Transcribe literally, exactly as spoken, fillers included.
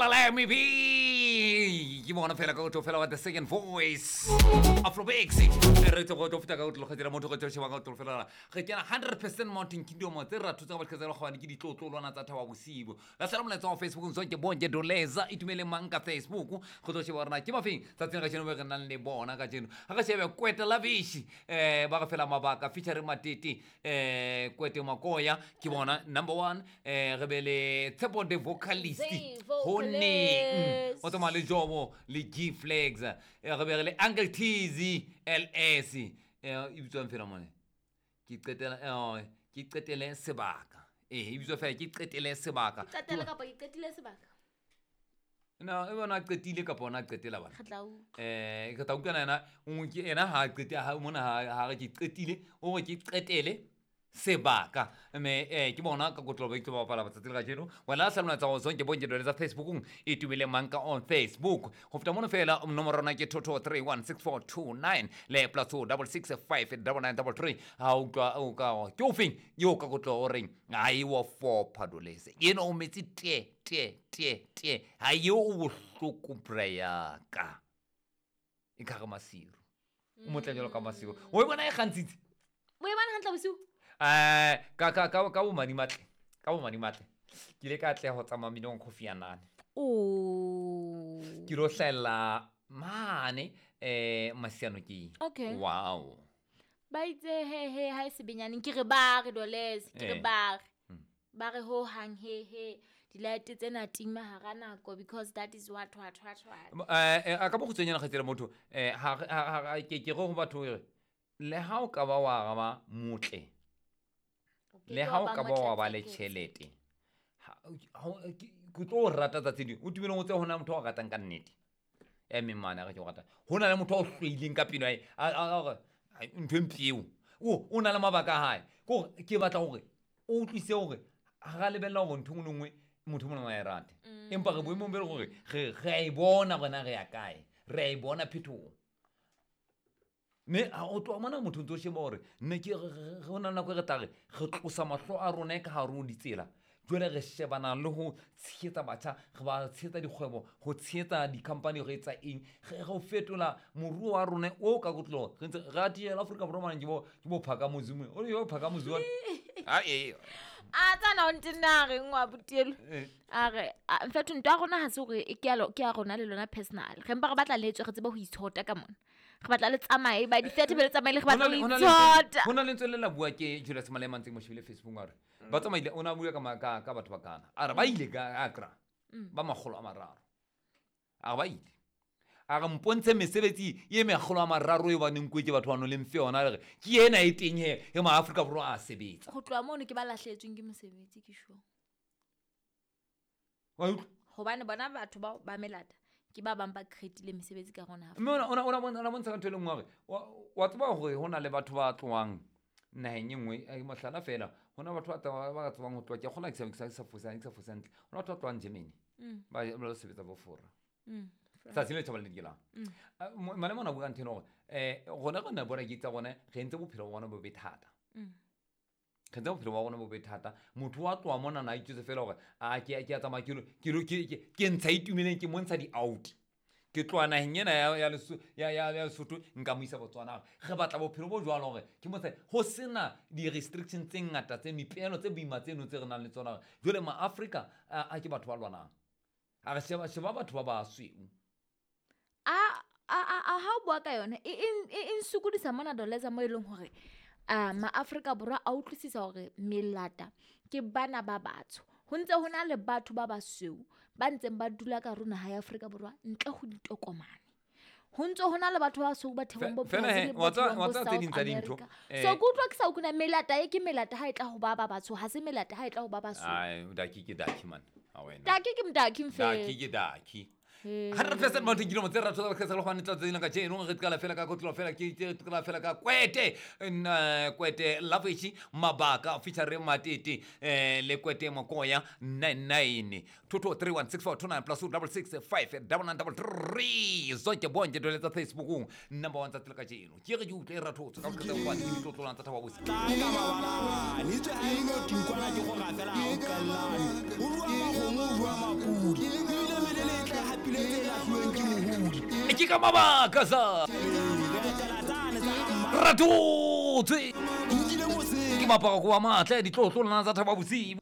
Fela let me be. Ke bona fela ka go tlo fela wa the second voice. Afrobex. Re tlo go tlo feta ka go tlo dira motho go tlo sheba ka go tlo fela. Re kena hundred percent Mountain Kingdom tse ra thutsa ba tlhetsela go bane ke ditlotlolwana tsa thaba bosibo. La sala molaetsa wa Facebook ntse ke bonke doleza itumele mang ka Facebook go tlo sheba rena ke mafeng tsatsing ka tsheno re nang le bona ka tsheno. Ha ka shebe Kwete Lavish eh ba ga fela mabaka featuring Matete eh Kwete Makoya ke bona number one eh re bele Tshepo the vocalist Hone o tsamaya le Jomo le G Flags eh re be le Uncle Tizzy L S eh e bitswang fela mone ke qetela eh ke qetele sebaka eh e bitswa fela ke qetele sebaka ke qetele kapa ke qetile sebaka no e bona qetile kapa ona qetela bana eh ke tla utlwana yena o ke ena ha qete ha mona ha re ke qetile o re ke qetele sebaka me eh ke bona ka kotlo ba itlo ba bapala tsatsi la kajeno wena sa lona tsa go zonke bonke dole tsa Facebookong e tumile manka on Facebook go feta mono fela nomoro rona ke two two three one six four two nine le plus two double six five double nine double three ha utlwa o ka ke o feng yo ka kotlo o reng ha e wa four padolese yena o metsi te te te te ha yo o bohloko prayer ka e ka ga masiru o motla jalo ka masiru o e bona e gantsitse o e bona hantle bosiu eh ka ka ka ka bo madi matle ka bo madi matle ke ile ka tleha ho tsamaya minong coffee ya nane o ke ro hlella mane eh masiano ke okay wow ba itse he he ha e sebenyaneng ke re ba re doles ke re ba re ba re ho hang he he di-light tsena tima hara nako because that is what what what what eh a ka bo kgutshwanyana kgatsela motho eh ha ha ke ke go batho re le ha o ka ba wa ba motle le ha o ka ba wa ba le tjhelete ke tlo rata tsatsi ding o tumelong o tse hona motho a ratang ka nnete e mme mane a re ke o rata hona le motho a o hloileng ka pelo a a ntho e mpeo o o na le mabaka a hae ke hore ke batla hore o utlwise hore ha ra lebella hore ntho e nngwe motho mona wa e rate empa re boemong be le hore re re a e bona rona re ya kae re a e bona phetoho me a o tloha mona motho ntso sheba hore nne ke re hona nako e re tla re re tlosa mahlo a rona ka hare ho ditsela jwale re shebana le ho tshehetsa batjha re ba tshehetsa dikgwebo ho tshehetsa di-company re etsa eng re ho fetola moruo wa rona o ka kotlo re ntse re atihela Afrika Borwa mane ke bo ke bo phaka mozume o yo phaka mozume a e a tsana o ntina re ngwa botelo a re in fact ntwa rona ha se hore ke ya ke ya rona le lona personal re mpa re batla le tswe re tsebe ho itshota ka mona re batla le tsamaye ba di thirty be le tsamaye re batla ho itshota hona le ntse le la bua ke Julius Malema ntse mo shebile Facebook a re ba tsamaile o na bua ka ka ka batho ba kana a re ba ile ka Accra ba makgolo a mararo a re ba ile a re mpontshe mesebetsi e mekgolo a mararo e ba neng ke batho ba no le mfe yona re ke ena e teng he e ma Afrika Borwa a sebetsa go tloha mono ke ba lahletsweng ke mosebetsi ke sure wa utlwa hobane bona batho ba ba melata ke ba bang ba creatile mesebetsi ka rona mme ona ona ona bona bontsha ka ntho e le nngwe hore wa tseba hore hona le batho ba tlohang naheng e nngwe e mohlala fela hona batho ba ba tsebang ho tloha ke kgona ke sa sa fosa ke sa fosa hantle hona batho ba tlohang Germany ba ba sebetsa bo Fora tsatsi le tjhaba le dikelang Malema ona bua ntho ena hore eh rona re na bona ke tsa rona re entse bophelo ba rona bo be thata re entse bophelo ba rona bo be thata motho wa tloha mona na itjwetse fela hore a ke ke a tsamaya ke lo ke ke ntsha itumeleng ke montsha di-out ke tloha naheng ena ya ya ya ya ya Lesotho nka mo isa Botswana re batla bophelo bo jwalo hore ke montsha ho sena di-restrictions tse ngata tse mipelo tse boima tseno tse re nang le tsona jwale ma-Afrika a ke batho ba lwanang a re sheba sheba batho ba basweu a a a ha o bua ka yona e e nsokodisa mona doleza mo e leng hore a ma-Afrika Borwa a utlwisisa hore melata ke bana ba batsho ho ntse ho na le batho ba basweu ba ntseng ba dula ka rona ha ya Afrika Borwa ntle ho ditokomane ho ntse ho na le batho ba basweu ba thebong bo Brazil bo South America so ke utlwa ke sa ukuna melata e ke melata ha e tla ho ba ba batsho ha se melata ha e tla ho ba basweu ai daki ke daki man ha wena daki ke mdaki mfe daki ke daki hundred percent Mountain Kingdom tse ra tswa ka tsela go ntle tsela ka tjeno re tkala fela ka kotlo fela ke tkala fela ka Kwete Kwete Lavish mabaka featuring Matete eh le Kwete Mokoya nine nine two two three one six four two nine plus two double six five double nine double three zonke bonke dole tsa Facebook number one tsa tsela ka tjeno ke re ke utlwe ra thotse ka go tswa ke ditlotlolang tsa thaba bosi ka mabalane itse ha ino tinkwana ke go gafela o kallane o rua magomo o rua mapudi ebile Ke ka mabaka sa ratotse ke mapaka ko wa matle ditlotlo lona tsa thaba bosibu.